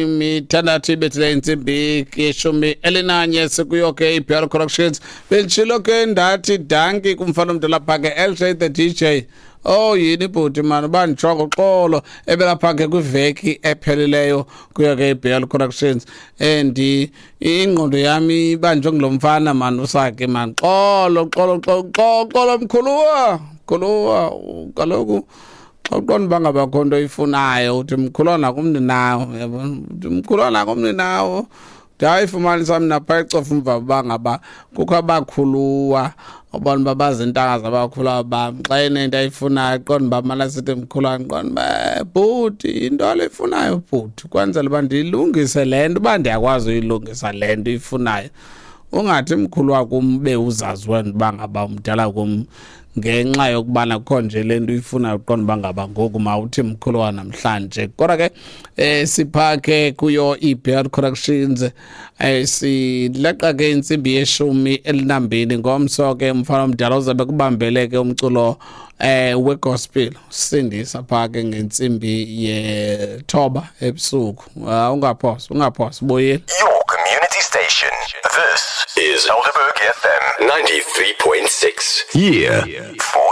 Mithandathu ibethile intsimbi yeshumi elinanye, sikuyo ke iBR Corrections. Benditshilo ke ndathi danki kumfana omdala pha ke, LJ the DJ. Oh yini bhuti mani, uba ndijonga uxolo ebelapha ke kwiveki ephelileyo kuyo ke iBR Corrections, and ingqondo yami ibanjwe ngulo mfana mani usake mani. Xolo, xolo, xolo, xolo, xolo, mkhuluwa, mkhuluwa. Kaloku xa uqonda uba ngaba kho nto oyifunayo, uthi mkhuluwa nakumninawo, yabona, uthi mkhuluwa nakumninawo. Ndayifumanisa mna phaa ecofa umva uba ngaba kukho abakhuluwa ubona uba bazintanga zabakhuluwa bam. Xa enento ayifunayo, qonda uba mana sithi mkhuluwa, ndiqonda uba bhuti, yinto le ifunayo bhuti, kwenzela uba ndiyilungise le nto, uba ndiyakwazi uyilungisa le nto ifunayo. Ungathi mkhuluwa kum ube uzazi wena uba ngaba umdala kum, ngenxa yokubana kukho nje le nto uyifunayo, uqonda uba ngaba ngoku mawuthi mkhuluwa namhlanje. Kodwa ke sipha ke kuyo iBR Corrections, sileqa ke intsimbi ye-12. Ngomso ke umfana omdala uzabe kubambele ke umculo wegospel, sindisa pha ke ngentsimbi ye-9 ebusuku. Ungaphosi, ungaphosi, buyile. Your community station. This is Helderberg FM 93.6. Yeah. For